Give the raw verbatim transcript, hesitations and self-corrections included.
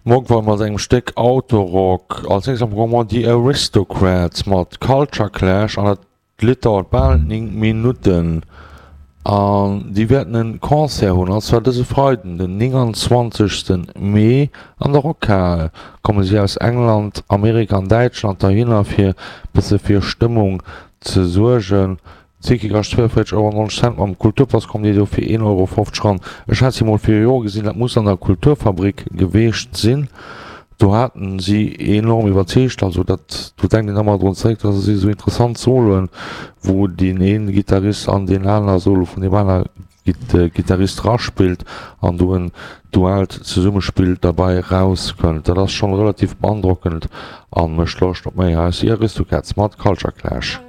Mogwai mat engem Stéck Autorock. Als nächst am Programm The Aristocrats mat Culture Clash an dat Lidd dauert bal néng Minutten. An déi wäerten en Concert hunn, an zwar dëse Freiden, den nénganzwanzegsten Mee an der Rockhal. Komme si aus England, Amerika an Däitschland heihinner fir bësse fir Stëmmung ze suergen. Ticket kascht zwouevéierzeg Euro an nonzeg Cent, mam Kulturpass kommt dir do fir een Euro fofzeg ran. Ech hat si mol viru Jore gesinn, dat muss an der Kulturfabrik geweecht sinn. Do haten si enorm iwwerzeegt, also dat, do denkt een ëmmer drun zeréck, dat si sou interessant Soloen, wou deen een Gittarist an deen aner Solo vun deem aner Gittarist raspillt an do en duaalt Zesummespill derbei rauskënnt. Dat ass schonn relativ beandrockend an mécht Loscht op méi. Hei ass The Aristocats mat Culture Clash.